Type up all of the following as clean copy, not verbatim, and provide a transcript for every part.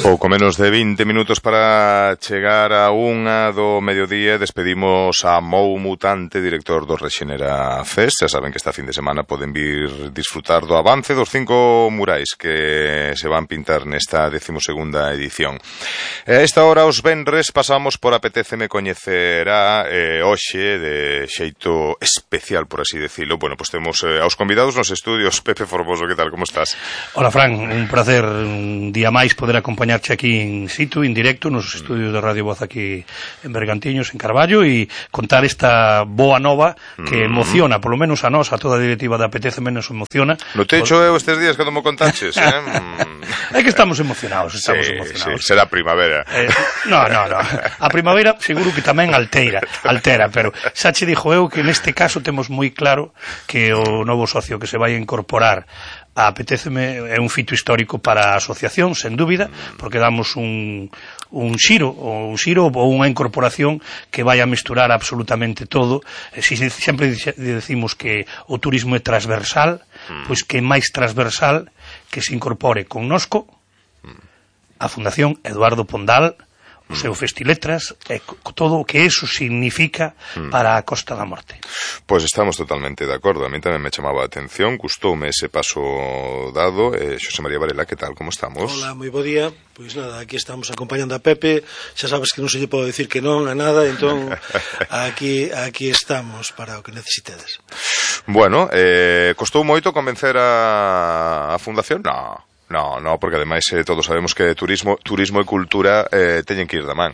Pouco menos de 20 minutos para chegar a unha do mediodía. Despedimos a Mou Mutante, director do Rexenera Fest. Xa saben que esta fin de semana poden vir disfrutar do avance dos 5 murais que se van pintar nesta 12ª edición. A esta hora, os venres, pasamos por Apetéceme Coñecerá hoxe de xeito especial, por así decirlo. Bueno, pues temos aos convidados nos estudios. Pepe Formoso, que tal, como estás? Hola, Fran, un placer un día máis poder acompañarte aquí in situ, en directo, nos estudios de Radio Voz aquí en Bergantiños, en Carballo, e contar esta boa nova que emociona, polo menos a nós, a toda a directiva da Apetéceme nos emociona. No te echo eu estes días cando me contaches, É que estamos emocionados, emocionados. Sí, será primavera. No, a primavera seguro que tamén altera, pero xa che dixo eu que neste caso temos moi claro que o novo socio que se vai a incorporar a Apetéceme é un fito histórico para a asociación, sen dúbida, porque damos un xiro ou unha incorporación que vai a mesturar absolutamente todo. Sempre decimos que o turismo é transversal, pois que é máis transversal que se incorpore connosco a Fundación Eduardo Pondal, o seu Festiletras, e todo o que eso significa para a Costa da Morte. Pois estamos totalmente de acordo. A mí tamén me chamaba a atención, gustoume ese paso dado. Xosé María Varela, que tal, como estamos? Hola, moi bo día. Pois nada, aquí estamos acompañando a Pepe. Xa sabes que non se lle pode decir que non a nada, entón aquí estamos para o que necesitedes. Bueno, costou moito convencer a Fundación? No, porque ademais todos sabemos que turismo e cultura teñen que ir da man.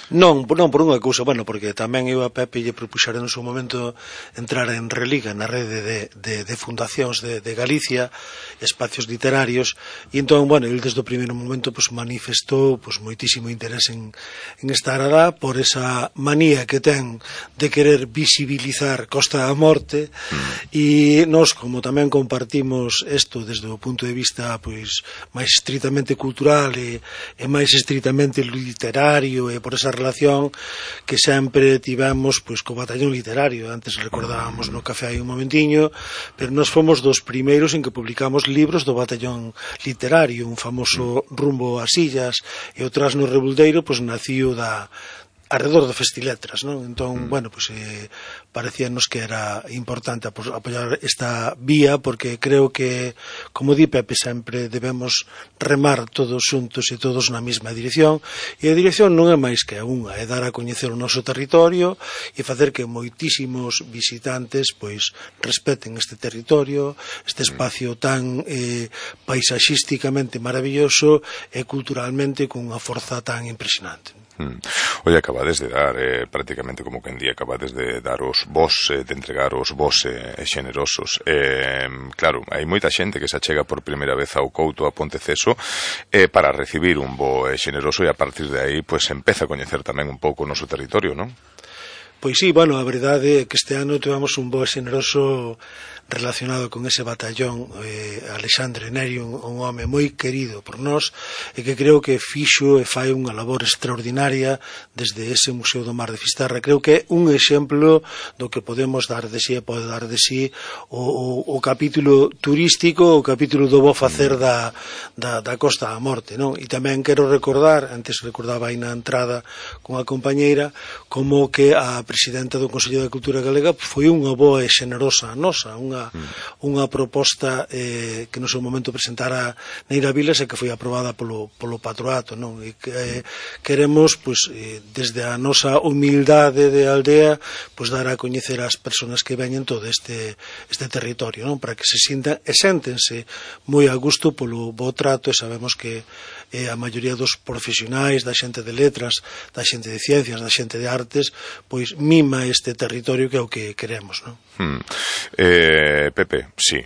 Non por unha cousa, porque tamén eu a Pepe lle propuxera no seu momento entrar en Religa, na rede de fundacións de Galicia, espacios literarios, e entón, ele desde o primeiro momento manifestou moitísimo interés en estar alá por esa manía que ten de querer visibilizar Costa da Morte, e nós, como tamén compartimos isto desde o punto de vista máis estritamente cultural e máis estritamente literario, e por esa relación que sempre tivemos co batallón literario. Antes recordábamos no café hai un momentiño, pero nós fomos dos primeiros en que publicamos libros do batallón literario. Un famoso Rumbo ás Illas e o Trasno Rebuldeiro naciu alrededor do Festiletras, non? Entón, parecíanos que era importante apoiar esta vía, porque creo que, como di Pepe, sempre debemos remar todos xuntos e todos na mesma dirección, e a dirección non é máis que unha, é dar a coñecer o noso territorio e facer que moitísimos visitantes respeten este territorio, este espacio tan paisaxísticamente maravilloso e culturalmente con unha forza tan impresionante. Oye, acabades de dar prácticamente como que en día acabades de dar os vos, de entregar os vos xenerosos. Claro, hai moita xente que se achega por primeira vez ao Couto, a Ponteceso, para recibir un bo xeneroso, e a partir de aí empeza a coñecer tamén un pouco o noso territorio, non? Pois sí, a verdade é que este ano tivemos un bo xeneroso relacionado con ese batallón, Alexandre Neri, un home moi querido por nós, e que creo que fixo e fai unha labor extraordinaria desde ese Museo do Mar de Fisterra. Creo que é un exemplo do que podemos dar de si e pode dar de si o capítulo turístico, o capítulo do bo facer da Costa da Morte, non? E tamén quero recordar, antes recordaba aí na entrada con a compañeira, como que a presidenta do Consello de Cultura Galega foi unha boa e xenerosa nosa, unha proposta que no seu momento presentara Neira Vilas e que foi aprobada polo patroato, non? E que queremos, desde a nosa humildade de aldea, dar a coñecer ás persoas que veñen todo este territorio, non? Para que se sintan e séntense moi a gusto polo bo trato, e sabemos que a maioría dos profesionais, da xente de letras, da xente de ciencias, da xente de artes, mima este territorio, que é o que queremos, non? Pepe, sí,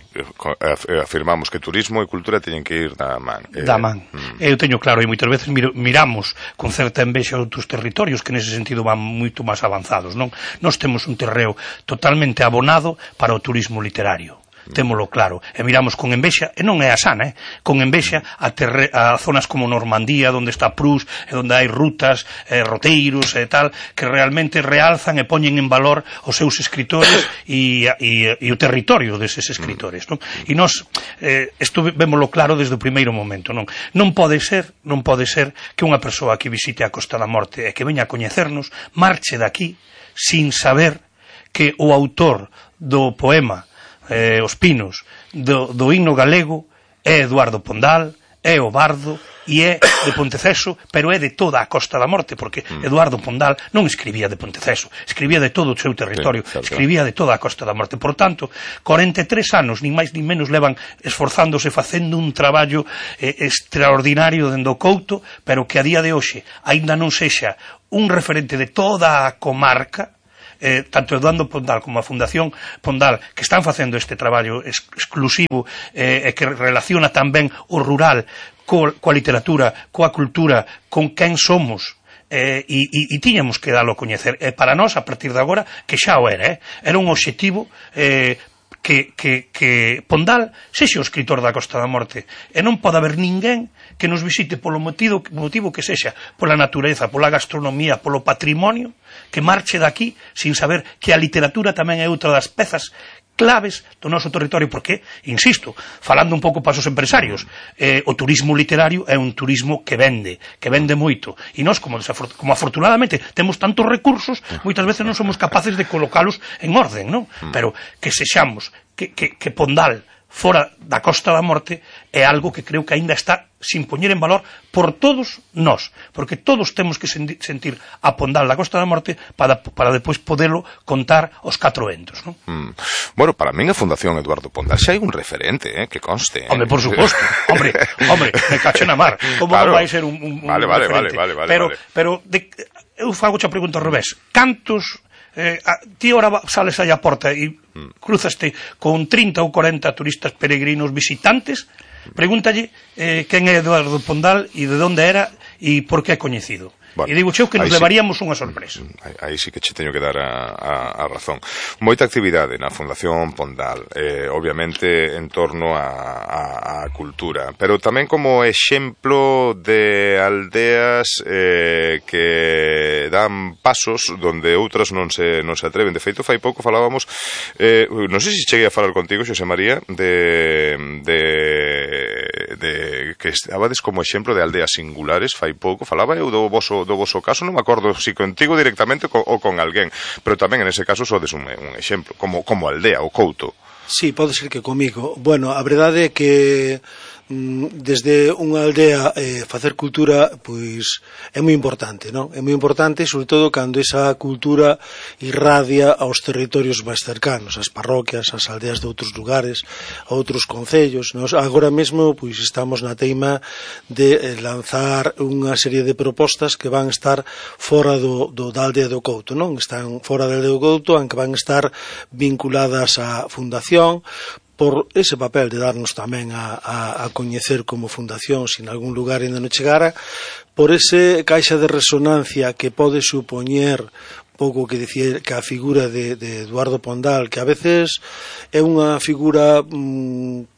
afirmamos que turismo e cultura teñen que ir da man. Da man. Eu teño claro, e moitas veces miramos con certa envexa outros territorios que nese sentido van moito máis avanzados, non? Nós temos un terreo totalmente abonado para o turismo literario. témolo claro, e miramos con envexa, e non é a sana, con envexa a zonas como Normandía, onde está Prus, e onde hai rutas, roteiros e tal, que realmente realzan e poñen en valor os seus escritores e o territorio deses escritores, non? E nós, isto vémolo claro desde o primeiro momento, non? Non pode ser que unha persoa que visite a Costa da Morte e que veña a coñecernos marche daqui sin saber que o autor do poema Os Pinos, do himno galego, é Eduardo Pondal, é o bardo e é de Ponteceso, pero é de toda a Costa da Morte, porque Eduardo Pondal non escribía de Ponteceso, escribía de todo o seu territorio, escribía de toda a Costa da Morte. Por tanto, 43 anos, nin máis nin menos, levan esforzándose facendo un traballo extraordinario dende o Couto, pero que a día de hoxe aínda non sexa un referente de toda a comarca, tanto Eduardo Pondal como a Fundación Pondal, que están facendo este traballo exclusivo e que relaciona tamén o rural coa literatura, coa cultura, con quen somos, e tiñamos que dalo a coñecer. E para nós, a partir de agora, que xa o era un obxectivo que Pondal sexa o escritor da Costa da Morte, e non pode haber ninguén que nos visite polo motivo que sexa, pola natureza, pola gastronomía, polo patrimonio, que marche daqui sin saber que a literatura tamén é outra das pezas claves do noso territorio, porque, insisto, falando un pouco para os empresarios, o turismo literario é un turismo que vende moito, e nós, como afortunadamente temos tantos recursos, moitas veces non somos capaces de colocalos en orden, non? Pero que sexamos, que Pondal fora da Costa da Morte é algo que creo que aínda está sin poñer en valor por todos nós, porque todos temos que sentir a Pondal da Costa da Morte para depois podelo contar aos 4 ventos, non? Bueno, para min a Fundación Eduardo Pondal xa hai un referente, que conste. Hombre, por suposto. Hombre, me cacho na mar. Como claro. Non vai ser un referente? Vale. Pero eu fago a pregunta ao revés. Cantos ti ora sales aí a porta e cruzaste con 30 ou 40 turistas peregrinos visitantes, pregúntalle quen é Eduardo Pondal e de onde era e por que é coñecido. Bueno, e digo xeo que nos levaríamos unha sorpresa. Aí sí que che teño que dar a razón. Moita actividade na Fundación Pondal, obviamente en torno a cultura, pero tamén como exemplo de aldeas que dan pasos donde outras non se atreven. De feito, fai pouco falábamos, non sei se cheguei a falar contigo, Xosé María, de que estabades como exemplo de aldeas singulares. Fai pouco falaba eu do voso caso, non me acordo se contigo directamente ou con alguén, pero tamén en ese caso sodes un exemplo, como aldea, o Couto. Sí, pode ser que comigo. Bueno, a verdade é que desde unha aldea facer cultura pois é moi importante, non? É moi importante, sobre todo cando esa cultura irradia aos territorios máis cercanos, ás parroquias, ás aldeas de outros lugares, a outros concellos. Nos agora mesmo pois estamos na teima de lanzar unha serie de propostas que van estar fora da aldea do Couto, non? Están fora da aldea do Couto, aunque van estar vinculadas á fundación, por ese papel de darnos tamén a coñecer como fundación, se en algún lugar ainda non chegara, por ese caixa de resonancia que pode supoñer pouco que dicir que a figura de Eduardo Pondal, que a veces é unha figura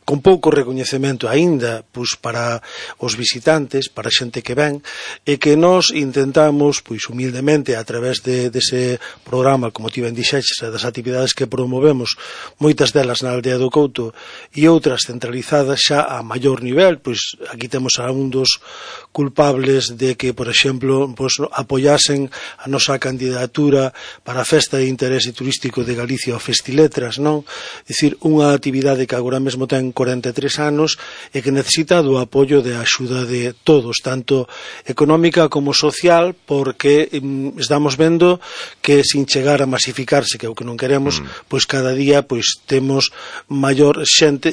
con pouco recoñecemento aínda pois para os visitantes, para a xente que ven, e que nós intentamos pois humildemente a través dese programa, como ti ben dixeches, das actividades que promovemos, moitas delas na aldea do Couto e outras centralizadas xa a maior nivel. Pois aquí temos a un dos culpables de que, por exemplo, pois apoyasen a nosa candidatura para a Festa de Interese Turístico de Galicia, o Festiletras, non? É dicir, unha actividade que agora mesmo ten 43 anos e que necesita do apoio de axuda de todos, tanto económica como social, porque estamos vendo que sin chegar a masificarse, que é o que non queremos, pois cada día pois temos maior xente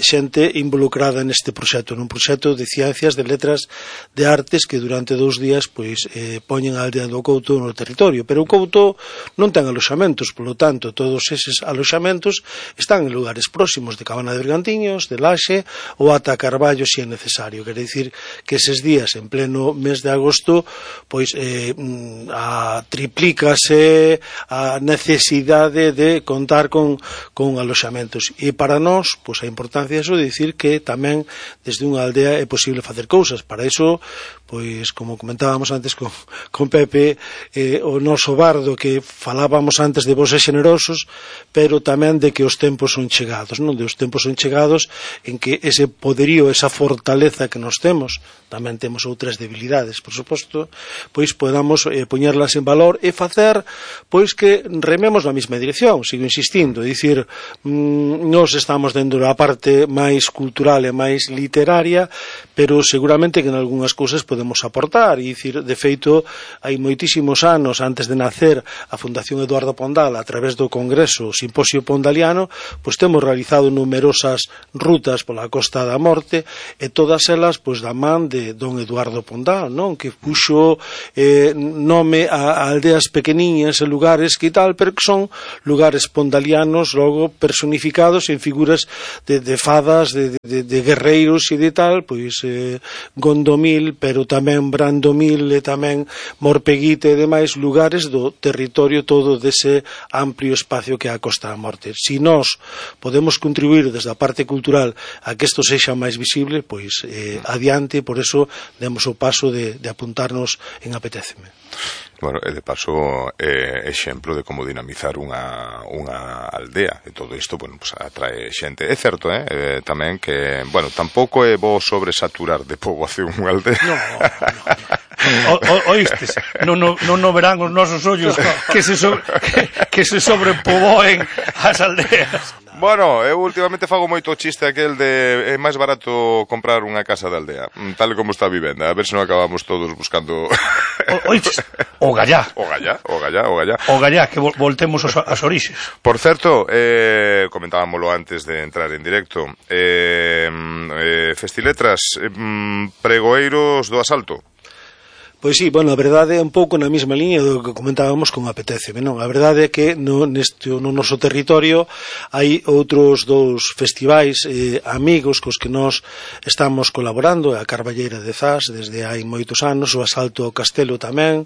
involucrada neste proxecto, nun proxecto de ciencias, de letras, de artes, que durante 2 días pois poñen a aldea do Couto no territorio, pero o Couto non ten aloxamentos, polo tanto, todos eses aloxamentos están en lugares próximos de Cabana de Bergantiños, de Laxe ou ata Carballo se é necesario. Quer dicir que eses días en pleno mes de agosto pois triplícase a necesidade de contar con aloxamentos, e para nós pois a importancia diso de dicir que tamén desde unha aldea é posible facer cousas. Para iso, pois como comentábamos antes con Pepe, o noso bardo que falábamos antes de vos e xenerosos, pero tamén de que os tempos son chegados, non? De os tempos son chegados en que ese poderío, esa fortaleza que nos temos, tamén temos outras debilidades, por suposto, pois podamos poñerlas en valor e facer pois que rememos na mesma dirección. Sigo insistindo, dicir, nós estamos dentro da parte máis cultural e máis literaria, pero seguramente que en algunhas cousas podemos aportar, e dicir, de feito, hai moitísimos anos antes de nacer a Fundación Eduardo Pondal, a través do Congreso Simposio Pondaliano, pois temos realizado numerosas rutas pola Costa da Morte, e todas elas pois da man de don Eduardo Pondal, non? Que puxo nome a aldeas pequeniñas e lugares que tal, pero que son lugares pondalianos logo personificados en figuras de fadas, de guerreiros e de tal, pois Gondomil, pero tamén Brandomil e tamén Morpeguite e demais lugares do territorio todo dese amplio espacio que é a Costa da Morte. Si nós podemos contribuir desde a parte cultural a que isto sexa máis visible, pois adiante, por eso demos o paso de apuntarnos en Apetéceme. Bueno, e de paso exemplo de como dinamizar unha aldea, e todo isto, bueno, pues atrae xente. É certo, tamén que, bueno, tampouco é bo sobresaturar de poboación unha aldea. No. Oístes, non verán os nosos ollos que se sobrepoboen as aldeas. Bueno, eu últimamente fago moito chiste aquel de é máis barato comprar unha casa de aldea, tal como está a vivenda, a ver se non acabamos todos buscando... Oístes, o gallá. O gallá, que voltemos as orixes. Por certo, comentábamoslo antes de entrar en directo, Festiletras, pregoeiros do asalto. Pois sí, bueno, a verdade é un pouco na mesma liña do que comentábamos con Apetéceme, non? A verdade é que no noso territorio hai outros dous festivais amigos cos que nós estamos colaborando, a Carballeira de Zas desde hai moitos anos, o Asalto ao Castelo tamén,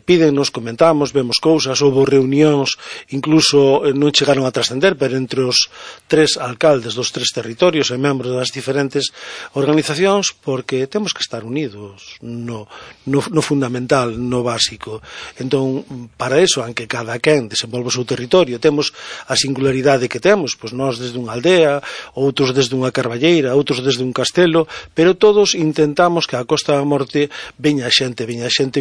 pídennos, comentamos, vemos cousas, houve reunións, incluso non chegaron a trascender, pero entre os tres alcaldes dos tres territorios e membros das diferentes organizacións, porque temos que estar unidos no fundamental, no básico. Entón, para eso, aunque cada quen desenvolve o seu territorio, temos a singularidade que temos, pois nós desde unha aldea, outros desde unha carballeira, outros desde un castelo, pero todos intentamos que a Costa da Morte veña xente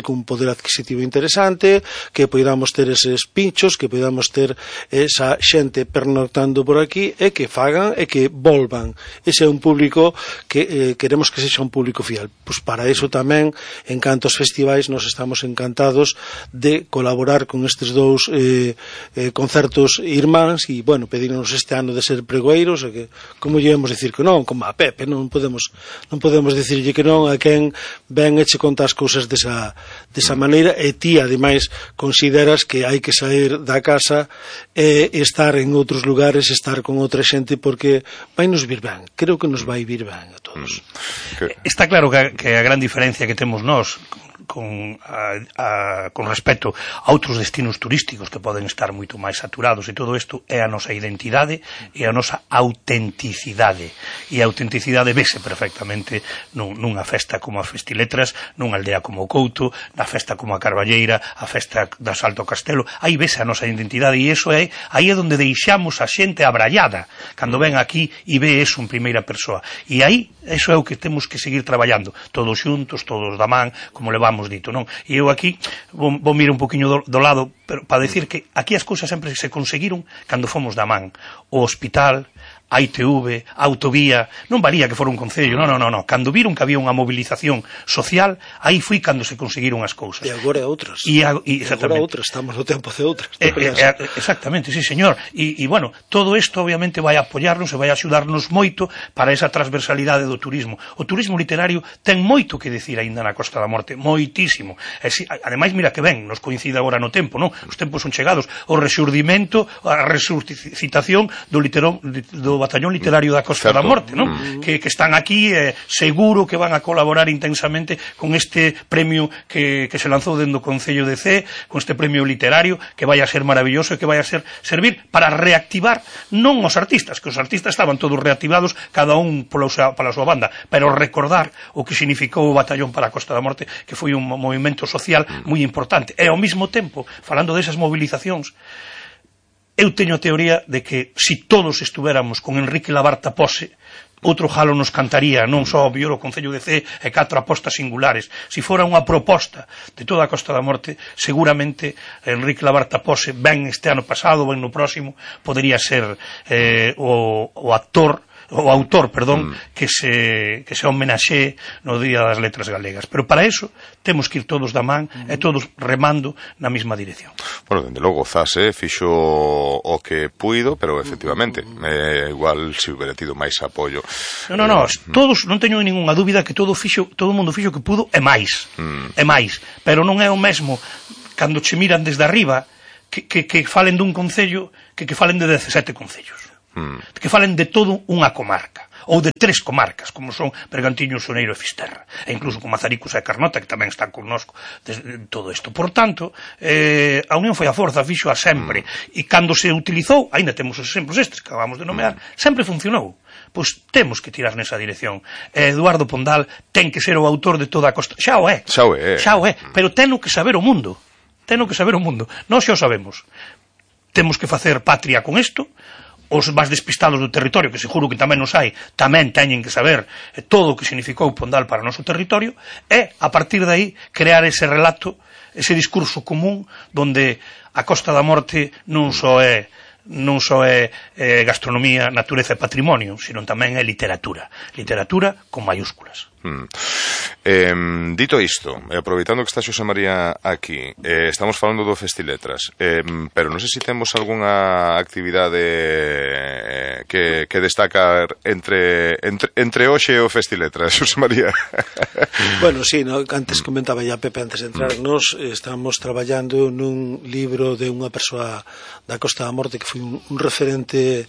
con poder adquisitivo interesante, que poidamos ter eses pinchos, que poidamos ter esa xente pernoctando por aquí, e que fagan e que volvan. Ese é un público que queremos que sexa un público fiel. Pois para eso tamén, en cantos festivais, nos estamos encantados de colaborar con estes dous concertos irmáns, e, bueno, pedirnos este ano de ser pregoeiros, e que, como lle vamos dicir que non, como a Pepe, non podemos dicirlle que non a quen ven e che conta as cousas desa maneira, e ti, ademais, consideras que hai que sair da casa e estar en outros lugares, estar con outra xente, porque vai nos vir ben, creo que nos vai vir ben a todos. Está claro que a gran diferencia que temos nós con respecto a outros destinos turísticos que poden estar moito máis saturados, e todo isto é a nosa identidade e a nosa autenticidade, e a autenticidade vese perfectamente nunha festa como a Festiletras, nunha aldea como o Couto, na festa como a Carballeira, a festa do Asalto ao Castelo. Aí vese a nosa identidade, e iso aí é onde deixamos a xente abrallada cando ven aquí e ve eso en primeira persoa, e aí eso é o que temos que seguir traballando todos xuntos, todos da man, como levamos dito, non? E eu aquí vou mirar un poquinho do lado, pero para decir que aquí as cousas sempre se conseguiron cando fomos da man. O hospital, a ITV, a autovía, non valía que fora un concello, non. Cando viron que había unha movilización social, aí foi cando se conseguiron as cousas. E agora outras. Agora outras, estamos no tempo de outras. Exactamente, sí, señor. E, bueno, todo isto obviamente vai apoiarnos e vai axudarnos moito para esa transversalidade do turismo. O turismo literario ten moito que decir aínda na Costa da Morte, moitísimo. Ademais, mira que ben, nos coincide agora no tempo, non? Os tempos son chegados. O rexurdimento, a resucitación do do Batallón Literario da Costa da Morte, non? Que están aquí, seguro que van a colaborar intensamente con este premio que se lanzou dentro do Concello de Cee, con este premio literario, que vai a ser maravilloso e que vai a servir para reactivar non os artistas, que os artistas estaban todos reactivados, cada un pola súa banda, pero recordar o que significou o Batallón para a Costa da Morte, que foi un movimento social moi importante. E ao mesmo tempo, falando desas movilizacións, eu teño a teoría de que se todos estuveramos con Enrique Labarta Pose, outro jalo nos cantaría, non só o Biolo Concello de Cee e 4 apostas singulares. Se fora unha proposta de toda a Costa da Morte, seguramente Enrique Labarta Pose, ben este ano pasado, ben no próximo, podería ser o autor, que se homenaxee no Día das Letras Galegas. Pero para eso temos que ir todos da man e todos remando na mesma dirección. Bueno, dende logo, Zase fixo o que puido, pero efectivamente, igual se hubiera tido máis apoio. Todos, non teño ninguna dúbida que todo o mundo fixo o que pudo e máis, pero non é o mesmo cando che miran desde arriba que falen dun concello que falen de 17 concellos. Que falen de todo unha comarca ou de 3 comarcas, como son Bergantiños, Soneiro e Fisterra, e incluso con Mazaricos e Carnota, que tamén están connosco desde todo isto. Por tanto, a unión foi a forza, fixo a sempre, e cando se utilizou, ainda temos os exemplos estes que acabamos de nomear, sempre funcionou. Pois temos que tirar nesa dirección. Eduardo Pondal ten que ser o autor de toda a Costa. Xa o é, pero teno que saber o mundo. Nós xa o sabemos. Temos que facer patria con isto. Os máis despistados do territorio, que seguro que tamén nos hai, tamén teñen que saber todo o que significou Pondal para o noso territorio, e, a partir de aí, crear ese relato, ese discurso común, donde a Costa da Morte non só é gastronomía, natureza e patrimonio, sino tamén é literatura con mayúsculas. Dito isto, aproveitando que está Xosé María aquí, estamos falando do Festiletras, pero non sei se temos algunha actividade que destacar entre hoxe e o Festiletras, Xosé María. Bueno, sí, antes comentaba ya Pepe antes de entrar, nos estamos traballando nun libro de unha persoa da Costa da Morte que foi un referente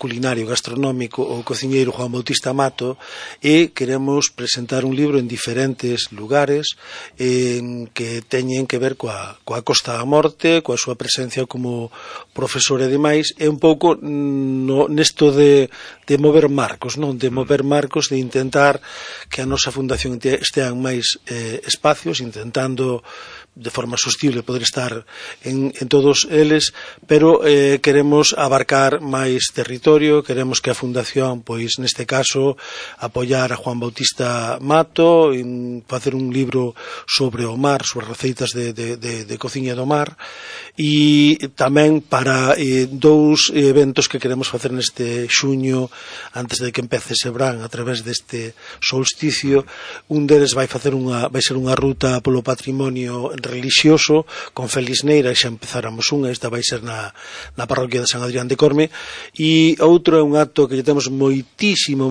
culinario, gastronómico, o cociñeiro Juan Bautista Mato, e queremos presentar un libro en diferentes lugares que teñen que ver coa Costa da Morte, coa súa presencia como profesor e demais, e un pouco nesto de mover marcos, non? De mover marcos, de intentar que a nosa fundación estean máis espacios, intentando de forma sostible poder estar en todos eles, pero queremos abarcar máis territorio, queremos que a Fundación, pois neste caso, apoiar a Juan Bautista Mato, facer un libro sobre o mar, sobre receitas de cociña do mar, e tamén para 2 eventos que queremos facer neste xuño, antes de que empece ese verán, a través deste solsticio. Un deles vai ser unha ruta polo patrimonio religioso con Félix Neira, xa empezáramos esta vai ser na parroquia de San Adrián de Corme, e outro é un acto que lle temos moitísimo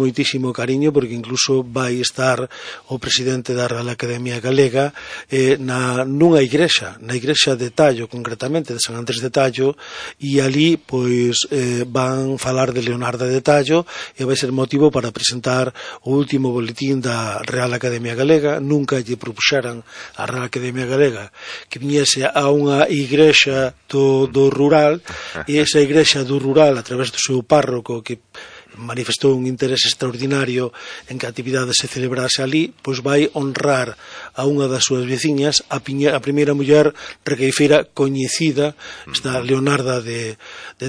cariño, porque incluso vai estar o presidente da Real Academia Galega nunha igrexa, na igrexa de Tallo, concretamente de San Andrés de Tallo, e ali pois van falar de Leonardo de Tallo, e vai ser motivo para presentar o último boletín da Real Academia Galega. Nunca lle propuxeran a Real Academia Galega que viñese a unha igrexa do rural, e esa igrexa do rural, a través do seu párroco, que manifestou un interés extraordinario en que a actividade se celebrase ali, pois vai honrar a unha das súas veciñas, a primeira muller requeifeira coñecida, esta Leonarda de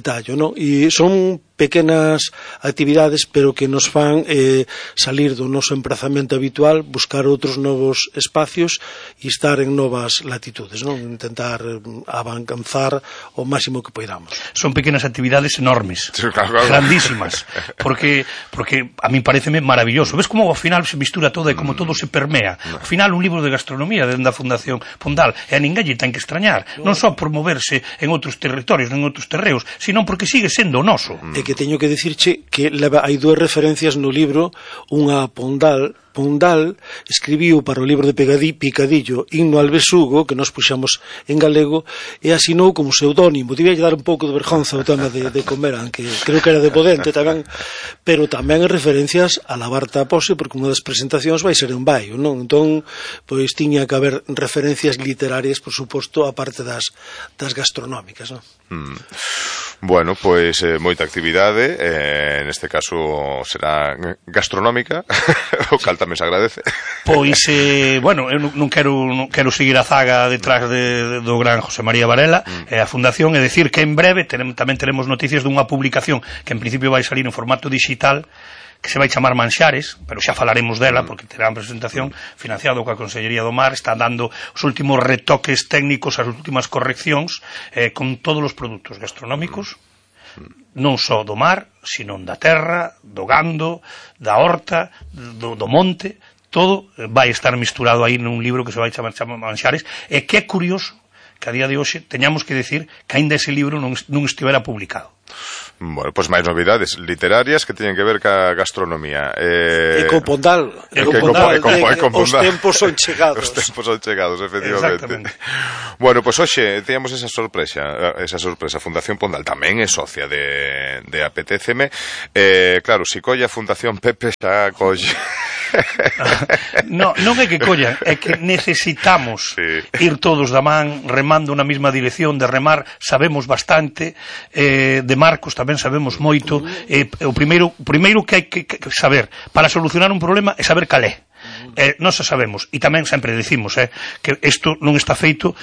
Tallo, non? E son pequenas actividades, pero que nos fan salir do noso emprazamento habitual, buscar outros novos espacios e estar en novas latitudes, non? Intentar avanzar o máximo que poidamos. Son pequenas actividades enormes, grandísimas, porque a mí pareceme maravilloso. Ves como ao final se mistura todo e como todo se permea. Ao final un libro de gastronomía dentro da Fundación Pondal, e a ninguén lle ten que extrañar, non só por moverse en outros territorios, en outros terreos, sino porque sigue sendo o noso. E que teño que dicirche que hai dúas referencias no libro, unha Pondal escribiu para o libro de Picadillo Himno al Besugo, que nos puxamos en galego, e asinou como pseudónimo. Debía dar un pouco de vergonza o tema de comer, aunque creo que era de Podente tamén, pero tamén en referencias a la Barta Pose, porque unha das presentacións vai ser en Baio, non? Entón, pois tiña que haber referencias literarias, por suposto, a parte das gastronómicas, non? Bueno, pois moita actividade, neste caso será gastronómica, o cal tamén se agradece. Pois, bueno, eu non quero seguir a zaga detrás do gran José María Varela e a Fundación, e decir que en breve tamén teremos noticias dunha publicación que en principio vai salir en formato digital, que se vai chamar Manxares, pero xa falaremos dela porque terá unha presentación financiado coa Consellería do Mar, está dando os últimos retoques técnicos, as últimas correccións con todos os produtos gastronómicos, non só do mar, sino da terra, do gando, da horta, do monte, todo vai estar misturado aí nun libro que se vai chamar Manxares, e que é curioso que a día de hoxe teñamos que decir que aínda ese libro non estivera publicado. Bueno, pois máis novidades literarias que teñen que ver ca gastronomía. E con Pondal. Os tempos son chegados. Os tempos son chegados, efectivamente. Bueno, pois hoxe teñamos esa sorpresa. Fundación Pondal tamén é socia de Apetéceme. Claro, si colla Fundación Pepe xa colle. Non é que collan, é que necesitamos ir todos da man remando na mesma dirección. De remar sabemos bastante, de marcos tamén sabemos moito. O primeiro que hai que saber para solucionar un problema é saber cal é. Nós sabemos, e tamén sempre decimos que isto non está feito,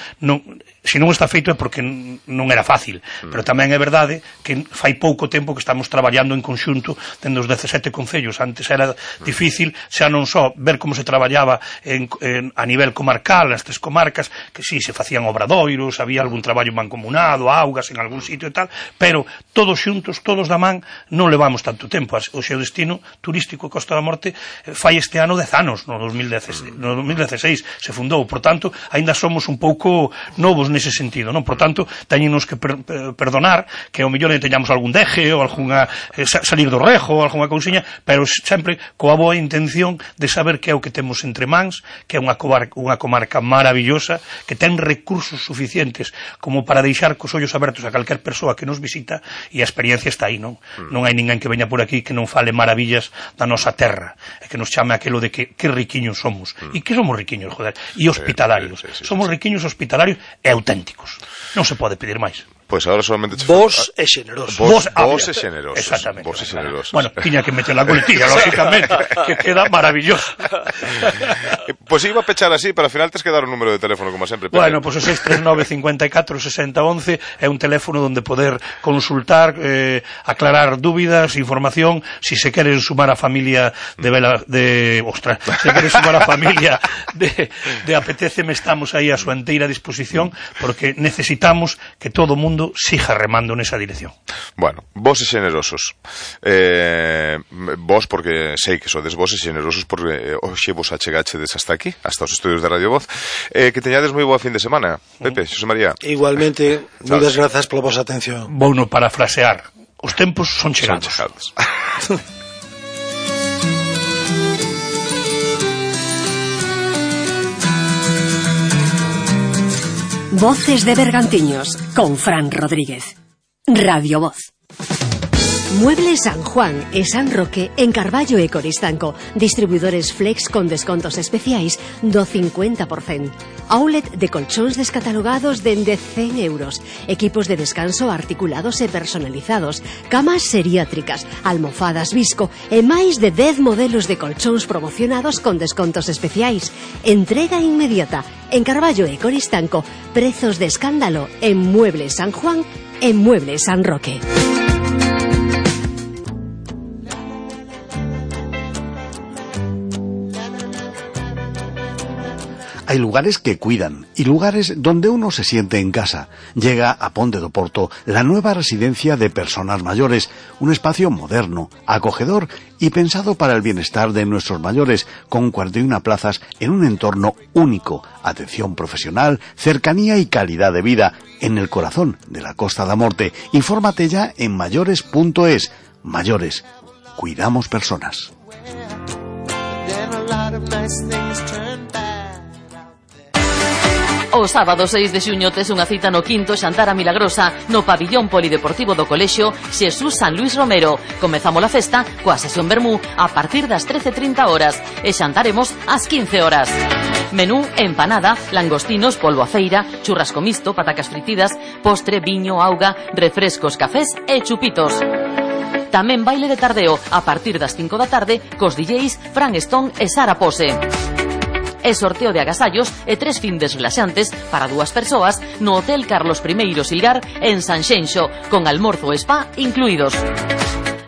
se non está feito é porque non era fácil, pero tamén é verdade que fai pouco tempo que estamos traballando en conxunto dende os 17 concellos. Antes era difícil xa non só ver como se traballaba a nivel comarcal, nas 3 comarcas, que si se facían obradoiros, había algún traballo mancomunado, augas en algún sitio e tal, pero todos xuntos, todos da man, non levamos tanto tempo. O seu destino turístico Costa da Morte fai este ano 10 anos, no 2016 se fundou, por tanto, aínda somos un pouco novos nese sentido, non? Por tanto, teñenos que perdonar que ao mellor teñamos algún deje ou algunha salir do rejo ou algunha cousiña, pero sempre coa boa intención de saber que é o que temos entre mans, que é unha comarca maravillosa, que ten recursos suficientes como para deixar cos ollos abertos a calquer persoa que nos visita, e a experiencia está aí, non? Non hai ninguén que veña por aquí que non fale maravillas da nosa terra, e que nos chame aquilo de que riquiños somos. E que somos riquiños, joder, e hospitalarios. Somos riquiños, hospitalarios e auténticos. Non se pode pedir máis. Pois agora solamente... Vos e xenerosos. Vos e xenerosos. Exactamente. Vos e xenerosos. Bueno, tiña que meter la coletilla, lógicamente, que queda maravilloso. Pois iba a pechar así, para ao final tes que dar un número de teléfono, como sempre. Bueno, pois o 639 54 60 11 é un teléfono onde poder consultar, aclarar dúbidas, información, si se queren sumar a familia se queren sumar a familia de Apetéceme, estamos aí a súa enteira disposición, porque necesitamos que todo o mundo siga remando nesa dirección. Bueno, vos e xenerosos. Vos, porque sei que sodes vos e xenerosos, porque hoxe vos achegachedes hasta aquí, hasta os estudios de Radio Voz. Que teñades moi boa fin de semana. Pepe, Xosé María. Igualmente, moitas grazas pola vosa atención. Vouno parafrasear. Os tempos son chegados. Voces de Bergantiños, con Fran Rodríguez. Radio Voz. Muebles San Juan e San Roque en Carballo e Coristanco. Distribuidores Flex con descontos especiais do 50%. Outlet de colchóns descatalogados dende 100 euros. Equipos de descanso articulados e personalizados. Camas seriátricas, almofadas Visco e máis de 10 modelos de colchóns promocionados con descontos especiais. Entrega inmediata. En Carballo e Coristanco, prezos de escándalo en Muebles San Juan e Muebles San Roque. Hay lugares que cuidan y lugares donde uno se siente en casa. Llega a Ponte do Porto la nueva residencia de personas mayores, un espacio moderno, acogedor y pensado para el bienestar de nuestros mayores, con 41 plazas en un entorno único, atención profesional, cercanía y calidad de vida, en el corazón de la Costa da Morte. Infórmate ya en mayores.es. Mayores, cuidamos personas. O sábado 6 de xuño tes unha cita no quinto xantar a Milagrosa no pabillón polideportivo do Colexio Xesús San Luis Romero. Comezamos a festa coa sesión vermú a partir das 13:30 horas e xantaremos ás 15 horas. Menú, empanada, langostinos, polvo a feira, churrasco misto, patacas fritidas, postre, viño, auga, refrescos, cafés e chupitos. Tamén baile de tardeo a partir das 5 da tarde cos DJs Fran Stone e Sara Pose. E sorteo de agasallos e 3 findes relaxantes para 2 persoas no Hotel Carlos I Silgar en Sanxenxo, con almorzo e spa incluídos.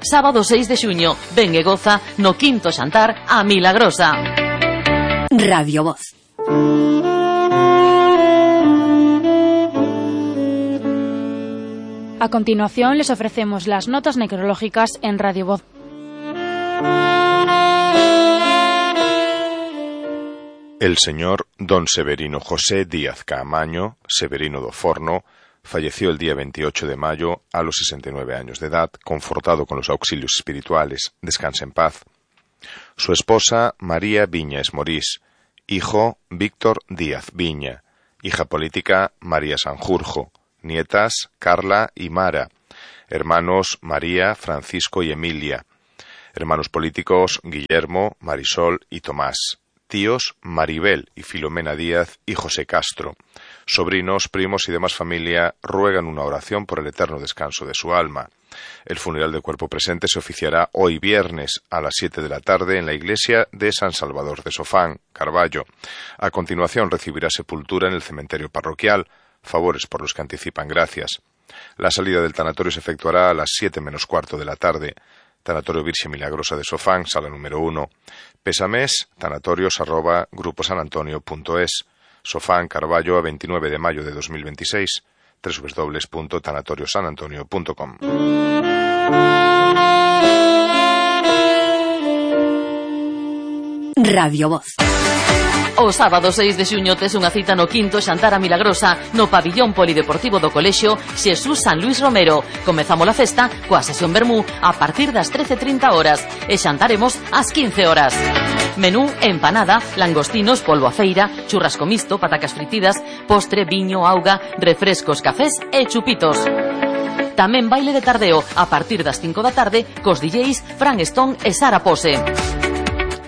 Sábado 6 de xuño, ven e goza no quinto xantar a Milagrosa. Radio Voz. A continuación les ofrecemos las notas necrológicas en Radio Voz. El señor don Severino José Díaz Caamaño, Severino do Forno, falleció el día 28 de mayo a los 69 años de edad, confortado con los auxilios espirituales. Descanse en paz. Su esposa María Viñas Morís, hijo Víctor Díaz Viña, hija política María Sanjurjo, nietas Carla y Mara, hermanos María, Francisco y Emilia, hermanos políticos Guillermo, Marisol y Tomás, tíos Maribel y Filomena Díaz y José Castro, sobrinos, primos y demás familia ruegan una oración por el eterno descanso de su alma. El funeral de cuerpo presente se oficiará hoy viernes a las 7 de la tarde en la iglesia de San Salvador de Sofán, Carballo. A continuación recibirá sepultura en el cementerio parroquial, favores por los que anticipan gracias. La salida del tanatorio se efectuará a las 7 menos cuarto de la tarde. Tanatorio Virxe Milagrosa de Sofán, sala número 1. Pésames, tanatorios@gruposanantonio.es. Sofán, Carballo, a 29 de mayo de 2026. www.tanatoriosanantonio.com. Radio Voz. O sábado 6 de xuño tes unha cita no quinto xantar a Milagrosa no pabillón polideportivo do Colexio Xesús San Luis Romero. Comezamos a festa coa sesión vermú a partir das 13:30 horas e xantaremos ás 15 horas. Menú, empanada, langostinos, polvo a feira, churrasco misto, patacas fritidas, postre, viño, auga, refrescos, cafés e chupitos. Tamén baile de tardeo a partir das 5 da tarde cos DJs Fran Stone e Sara Pose.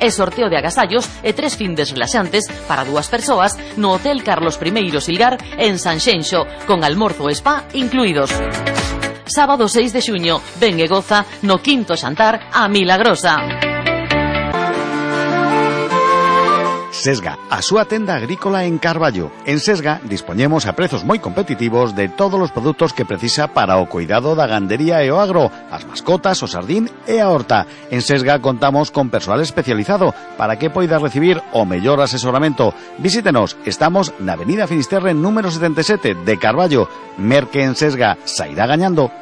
E sorteo de agasallos e 3 findes relaxantes para 2 persoas no Hotel Carlos I Silgar en Sanxenxo, con almorzo e spa incluídos. Sábado 6 de xuño, ven e goza no quinto xantar a Milagrosa. Sesga, a súa tenda agrícola en Carballo. En Sesga dispoñemos a prezos moi competitivos de todos os produtos que precisa para o cuidado da gandería e o agro, as mascotas, o sardín e a horta. En Sesga contamos con persoal especializado para que poida recibir o mellor asesoramento. Visítenos, estamos na Avenida Finisterre número 77 de Carballo. Merque en Sesga, sairá gañando.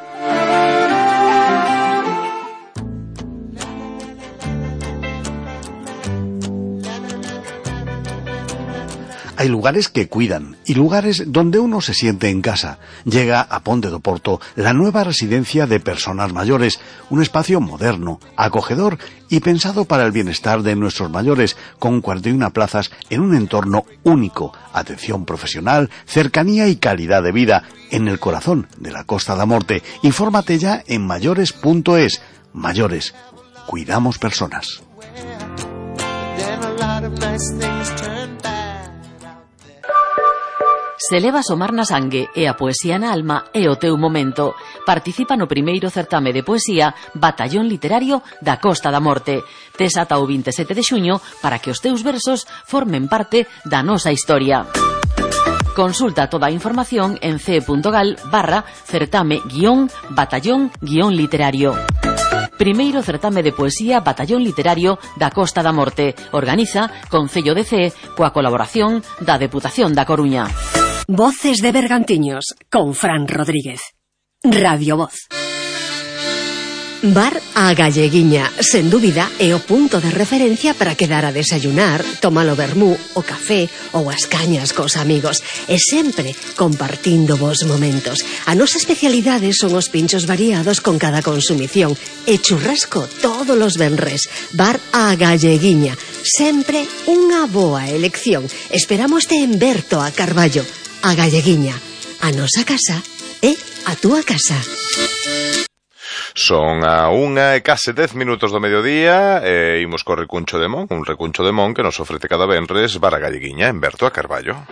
Hay lugares que cuidan y lugares donde uno se siente en casa. Llega a Ponte do Porto la nueva residencia de personas mayores, un espacio moderno, acogedor y pensado para el bienestar de nuestros mayores, con 41 plazas en un entorno único, atención profesional, cercanía y calidad de vida, en el corazón de la Costa da Morte. Infórmate ya en mayores.es. Mayores, cuidamos personas. Se leva o mar na sangue e a poesía na alma é o teu momento. Participa no primeiro certame de poesía Batallón Literario da Costa da Morte. Tes ata o 27 de xuño para que os teus versos formen parte da nosa historia. Consulta toda a información en ce.gal/certame-batallón-literario. primeiro certame de poesía Batallón Literario da Costa da Morte. Organiza Concello de Cee coa colaboración da Deputación da Coruña. Voces de Bergantiños con Fran Rodríguez. Radio Voz. Bar A Galleguiña, sen dúbida, é o punto de referencia para quedar a desayunar, tomar o vermú, o café ou as cañas cos amigos, e sempre compartindo vos momentos. A nosa especialidade son os pinchos variados con cada consumición e churrasco todos os venres. Bar A Galleguiña, sempre unha boa elección. Esperámoste en Berto a Carballo. A Galleguiña, a nosa casa é a túa casa. Son a 1:10 do mediodía e imos co recuncho de Mon, un recuncho de Mon que nos ofrece cada venres Bar A Galleguiña en Berto a Carballo.